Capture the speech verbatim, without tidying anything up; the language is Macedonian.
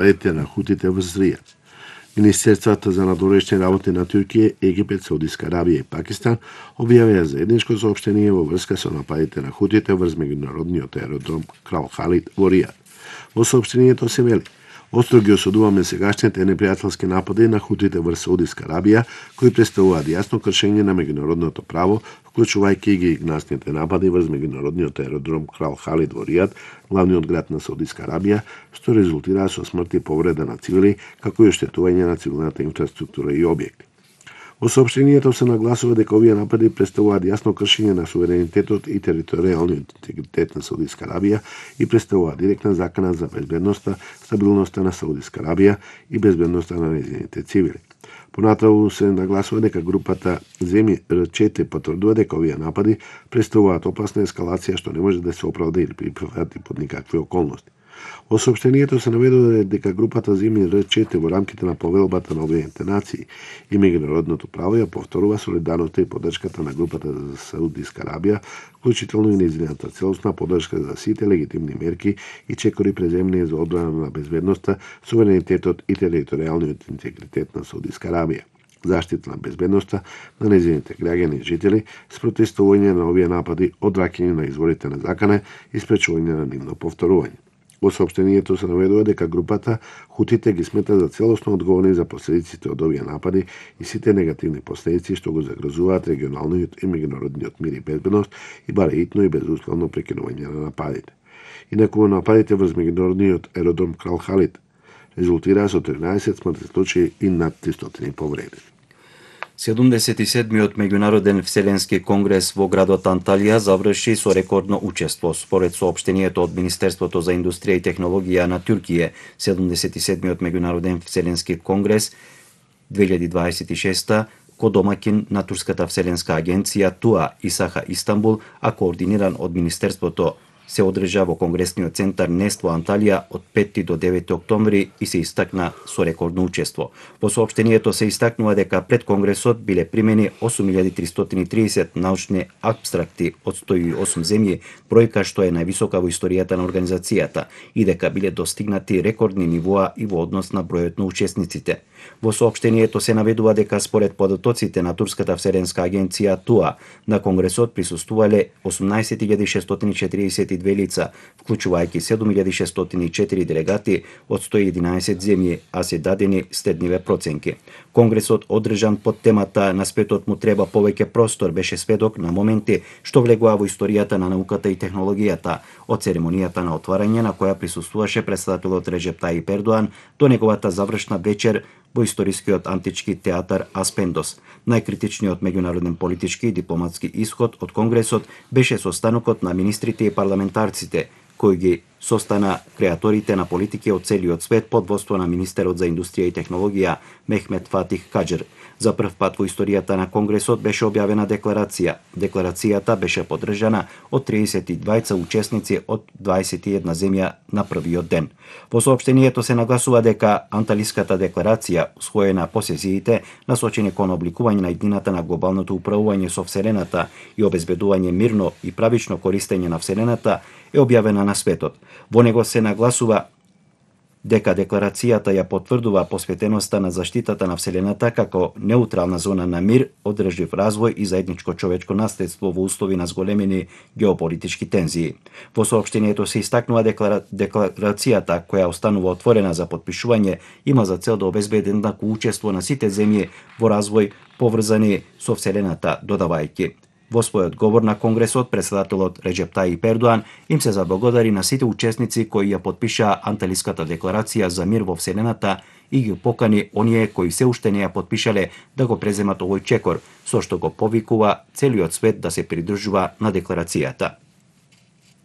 нападите на хутите врз Ријад. Министерствата за надворешни работи на Туркија, Египет, Саудиска Арабија и Пакистан објавија заедничко соопштение во врска со нападите на хутите врз меѓународниот аеродром Крал Халид во Ријад. Во соопштението се вели: остро ги осудуваме сегашните непријателски напади на хутите врз Саудиска Арабија, кои представуваат јасно кршење на меѓународното право, вклучувајќи ги гнасните напади врз меѓународниот аеродром Крал Халид во Ријад, главниот град на Саудиска Арабија, што резултираа со смрт и повреда на цивили, како и оштетување на цивилната инфраструктура и објекти. Во соопштението се нагласува дека овие напади представуваат јасно кршење на суверенитетот и територијалниот интегритет на Саудиска Арабија и представуваат директна закана за безбедноста, стабилноста на Саудиска Арабија и безбедноста на нејзините цивили. Понатаму се нагласува дека групата земји Р четири потврдува дека овие напади представуваат опасна ескалација што не може да се оправда или прифати под никакви околности. Во соопштението се наведува дека групата земји Р четири во рамките на повелбата на Обединетите нации и меѓународното право ја повторува солидарноста и поддршката на групата за Саудиска Арабија, вклучително и нејзината целосна поддршка за сите легитимни мерки и чекори преземни за одбрана на безбедноста, суверенитетот и територијалниот интегритет на Саудиска Арабија, заштита на безбедноста на нејзините граѓани и жители, спротестување на овие напади, одвраќање на изворите на закана и спречување на нивно повторување. Во соопштението се наведува дека групата хутите ги смета за целосно одговорни за последиците од овие напади и сите негативни последици што го загрозуваат регионалниот и меѓународниот мир и безбедност и баре итно и безусловно прекинување на нападите. Инаку нападите врз меѓународниот аеродром Крал Халид резултираа со тринаесет смртни случаи и над тристоти повредени. седумдесет и седмиот меѓународен вселенски конгрес во градот Анталија заврши со рекордно учество. Според соопштението од Министерството за индустрија и технологија на Туркија, седумдесет и седмиот меѓународен вселенски конгрес две илјади дваесет и шеста ко домаќин на Турската вселенска агенција ТУА Исаха Истанбул, а координиран од Министерството, се одржа во Конгресниот центар Нест во Анталија од петти до деветти октомври и се истакна со рекордно учество. Во соопштението се истакнува дека пред Конгресот биле примени осум илјади тристотини и тридесет научни апстракти од сто и осум земји, бројка што е највисока во историјата на организацијата, и дека биле достигнати рекордни нивоа и во однос на бројот на учесниците. Во соопштението се наведува дека според податоците на Турската вселенска агенција ТУА, на Конгресот присуствувале осумнаесет илјади шестстотини и четириесет и две лица, вклучувајќи седум илјади шестстотини и четири делегати од сто и единаесет земји, а се дадени следниве проценки. Конгресот одржан под темата "На светот му треба повеќе простор" беше сведок на моменти што влегува во историјата на науката и технологијата, од церемонијата на отварање на која присуствуваше претседателот Реджеп Тајип Ердоан до неговата завршна вечер во историскиот антички театар Аспендос. Најкритичниот меѓународен политички и дипломатски исход од Конгресот беше состанокот на министрите и парламентарците, кои ги состана креаторите на политики од целиот свет под водство на министерот за индустрија и технологија Мехмет Фатих Каџер. За прв пат во историјата на Конгресот беше објавена декларација. Декларацијата беше поддржана од триесет и двајца учесници од дваесет и една земја на првиот ден. Во соопштението се нагласува дека Анталиската декларација, усвоена по сесиите, насочени кон обликување на иднината на глобалното управување со Вселената и обезбедување мирно и правично користење на Вселената, е објавена на светот. Во него се нагласува дека декларацијата ја потврдува посветеноста на заштитата на Вселената како неутрална зона на мир, одржлив развој и заедничко човечко наследство во услови на зголемени геополитички тензии. Во соопштението се истакнува деклара... декларацијата, која останува отворена за подпишување, има за цел да обезбеди еднакво учество на сите земји во развој поврзани со Вселената, додавајќи: во својот говор на Конгресот, претседателот Реджеп Тајип Ердоан им се заблагодари на сите учесници кои ја потпишаа Анталиската декларација за мир во Вселената и ги покани оние кои се уште не ја потпишале да го преземат овој чекор, со што го повикува целиот свет да се придржува на декларацијата.